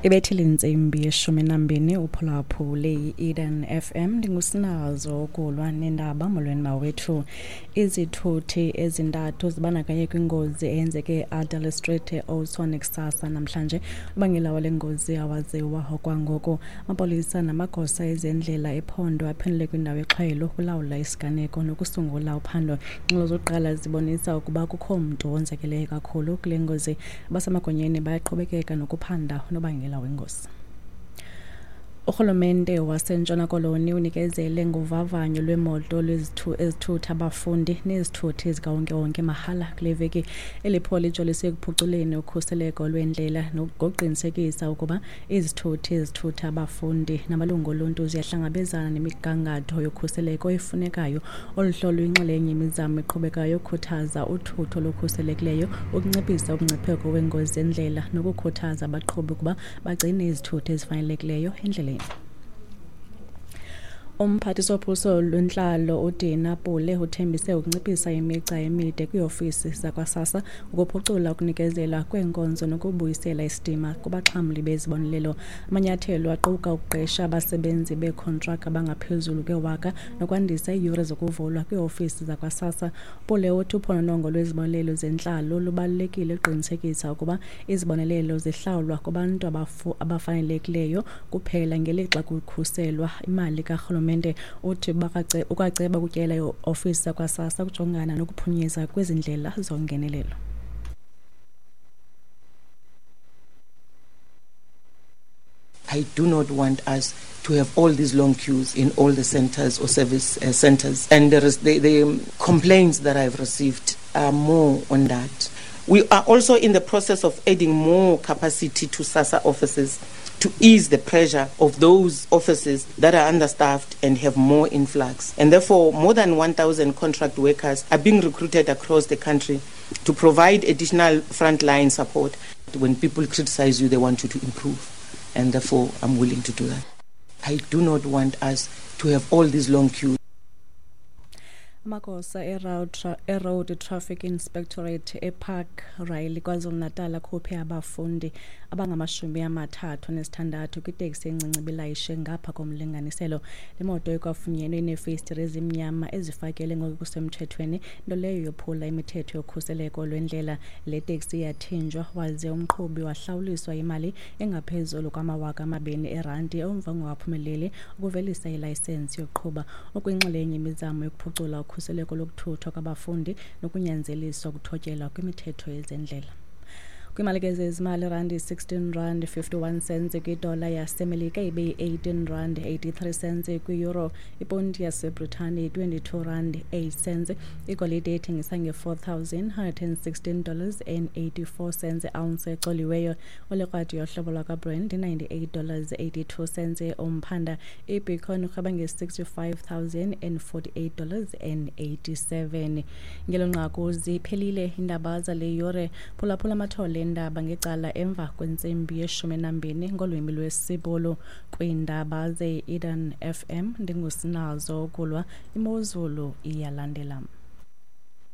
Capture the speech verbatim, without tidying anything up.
Ibethile intsimbi yeshumi nambini uphulaphule i-Eden F M. Ndingusinazo ukulwa nendaba. Molweni mawethu. Izithuthi ezintathu zibandakanye kwingozi eyenzeke e-Adderley Street e-Oudtshoorn kusasa namhlanje. Ubangela wale ngozi awaziwa okwangoku. Amapolisa namagosa ezendlela ephondo aphendule kwindawo yexhwayelo ukulawula isiganeko nokusungula uphando. Ingxelo zokuqala zibonisa ukuba kukho mntu wonzakeleyo kakhulu kule ngozi. Abasemagunyeni bayaqhubekeka nokuphanda unobangela wengozi. Urhulumente waseNtshona Koloni unikezele ngovavanyo lwemoto ezithutha abafundi nezithuthi zikawonkewonke mahala kule veki. Eli phulo lijolise ekuphuculeni ukhuseleko lwendlela nokuqinisekisa ukuba izithuthi ezithutha abafundi namalungu oluntu ziyahlangabezana nemigangatho yokhuseleko efunekayo. Olu hlolo luyinxalenye yemizamo eqhubekayo yokukhuthaza uthutho olukhuselekileyo, ukunciphisa umngcipheko weengozi zendlela nokukhuthaza abaqhubi ukuba bagcine izithuthi ezifanelekileyo endleleni. Umphathiswa wophuhliso lwentlalo uDina Pule uthembise ukunciphisa imigca emide kwiiofisi zakwaSASSA, ukuphucula ukunikezela kweenkonzo nokubuyisela isidima kubaxhamli bezibonelelo. Amanyathelo aquka ukuqesha abasebenzi beekhontraka abangaphezulu kwewaka nokwandisa iiyure zokuvulwa kwiiofisi zakwaSASSA. Pule uthi uphononongo lwezibonelelo zentlalo lubalulekile ukuqinisekisa ukuba izibonelelo zihlawulwa kubantu abafanelekileyo kuphela ngelixa kukhuselwa imali karhulumente. Uthi ukwaceba ukutyela iofisi zakwaSASSA ukujongana nokuphunyezwa kwezi ndlela zongenelelo. I do not want us to have all these long queues in all the centers or service uh, centers. And there is the, the complaints that I've received are more on that. We are also in the process of adding more capacity to SASSA offices to ease the pressure of those offices that are understaffed and have more influx. And therefore, more than one thousand contract workers are being recruited across the country to provide additional frontline support. When people criticize you, they want you to improve. And therefore, I'm willing to do that. I do not want us to have all these long queues. Amagosa eRoad Traffic Inspectorate ePark Riley KwaZulu-Natal akhuphe abafundi abangamashumi amathathu anesithandathu kwiteksi encinci ibilayishe ngapha komlinganiselo. Le moto ikwafunyenwe ineefestire ezimnyama ezifakele ngokusemthethweni, nto leyo yophula imithetho yokhuseleko lwendlela. Le teksi yathinjwa waze umqhubi wahlawuliswa imali engaphezulu kwamawaka amabini erandi emva kongaphumeleli ukuvelisa ilayisensi yokuqhuba. Okwinxalenye yemizamo yokuphucula ukhuseleko lokuthuthwa kwabafundi nokunyanzeliswa ukuthotyelwa kwimithetho yezendlela. Kwimali ke zezimali, randi sixteen rand fifty-one cents kwidola yaseMelika ibe yi-eighteen rand eighty-three cents kwi-euro, iponti yaseBritane twenty-two rand eight cents, igolide ethengisa nge-four thousand hundred and sixteen dollars and eighty-four cents ounce ecoliweyo. Olekrwadi yohlobo lwakwaBrent ninety-eight dollars eighty-two cents umphanda. IBitcoin irhweba nge-sixty-five thousand and forty-eight dollars and eighty-seven. Ngelo nqaku ziphelile iindaba zale yure. Phulaphula amathole indaba ngecala emva kwentsimbi yeshumi nambini ngolwimi lwesiBhulu. Kwiindaba ze-Eden F M ndingusinazo ukulwa. Imozulu iyalandela.